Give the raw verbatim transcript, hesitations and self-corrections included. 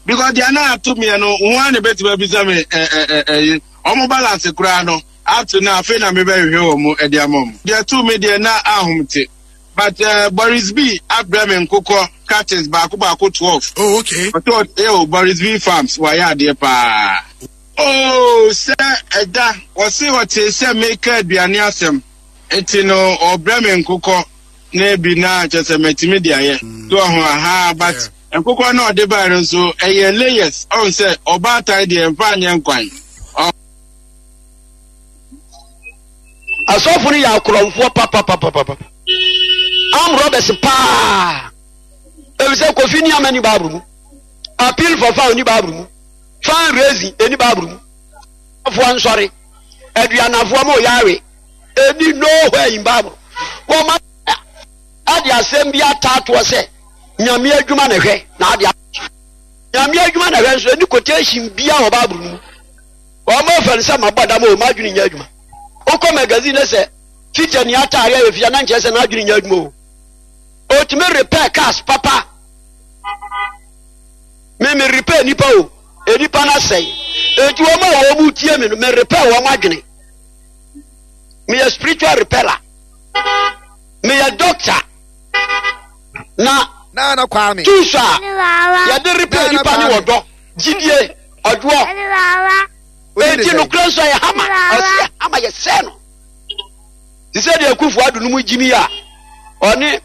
Because deɛ na ato meɛ no, ho ara na ebetumi abisa me ɛ ɛ ɛ ɛyi. Ɔmo balance koraa no, up to now afei na mebɛhwehwɛ wɔn ɛde ama ɔmo. Deɛ to me deɛ na ahom te. But uh, Boris B abrɛ me nkokɔ catches baako baako twelve. Oh, okay. Ɔtɔ ɛ o Boris B Farms wayɛ adeɛ paa. Oh, sɛ ɛda ɔse ɔte sɛ meka aduane asɛm nti no ɔbrɛ me nkokɔ na ebi na kyerɛ sɛ matumi de ayɛ. So ɔho aha, but nkokɔ na ɔde bae no nso ɛyɛ layers, ɔn sɛ ɔbaatan deɛ mfa nyɛ nkwan. Asɔfo no yɛ akorɔmfoɔ papapapapa, armed robbers paa, efisɛ Kofi ni ama ni Bible mu, appeal for found ni Bible mu, fund raising eni Bible mu, afoɔ nsɔre, aduanafoɔ ma ɔyɛ awe, eni nowhere in Bible. Wɔn ma ade asɛm bi ataatoɔ sɛ Nyame adwuma na hwɛ na ade Nyame adwuma na hwɛ nso eni quotation bia wɔ Bible mu. Wɔn ma fɛn sɛ mabɔ dam o, m'adwene nyɛ adwuma. Wokɔ magazine na sɛ feature ni ataare ayɛ fia na nkyerɛ sɛ n'adwene nyɛ adwuma o. Otumi repair cars papa. Me me repair nipa o, nipa na sɛe. Eti wɔn a wɔn mu tie me no, me repair wɔn adwene. Meyɛ spiritual repairer. Meyɛ doctor. Na Nana Kwame. Tools a yɛde repair nipa ne wɔdɔ, gyidie, ɔdwoɔ. Eti nokura nso yɛ hama, ɔsi yɛ hama yɛ sɛ no. Te sɛ deɛ Akufo Addo no mu gyimi a ɔne